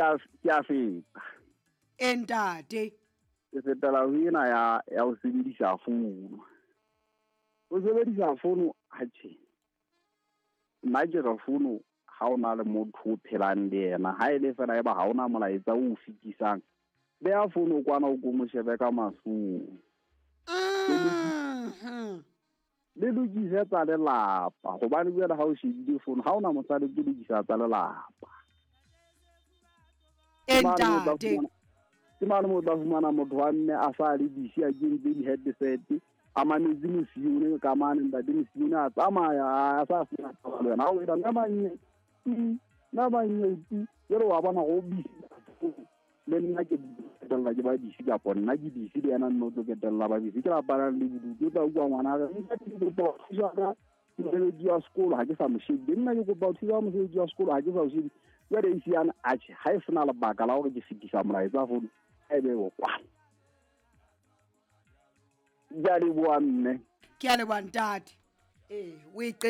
Ke a feta. E ntate. Ke fetela ho ena ya ho sebedisa founu. Ho sebedisa founu, atjhe. Nna ke re founu ha o na le motho o phelang le yena, ha e le fela eba ha ona molaetsa o fetisang, beha founu kwana o ko mo shebe ka mahlong. Le lokise tsa lelapa, hobane jwale ha o shebile founu ha ona mosadi ke lokisa tsa lelapa. Ke mane mo tla fumana motho wa mme a sa le busy a kentse di-headset, a mametse mosione ka mane, ntate mosione a tsamaya a sa sena taba le wena. Ha o etsa nna manye ti, nna manye ti, jwale wa bona hore o busy. Le nna ke qetella ke ba busy, kapa nna ke busy le yena nna o tlo qetella ba busy. Ke lapana le bodutu, o tla utlwa ngwana re, ntate ke kopa ho thusa ka mosebetsi wa sekolo, ha ke sa mo shebile. Nna ke kopa ho thusa ka mosebetsi wa sekolo, ha ke sa o shebile. Jwale e siana, atjhe, ha e sena lebaka la hore ke fetisa molaetsa founu, ha e be o kwana. Ke a leboha mme. Ke a leboha ntate. O e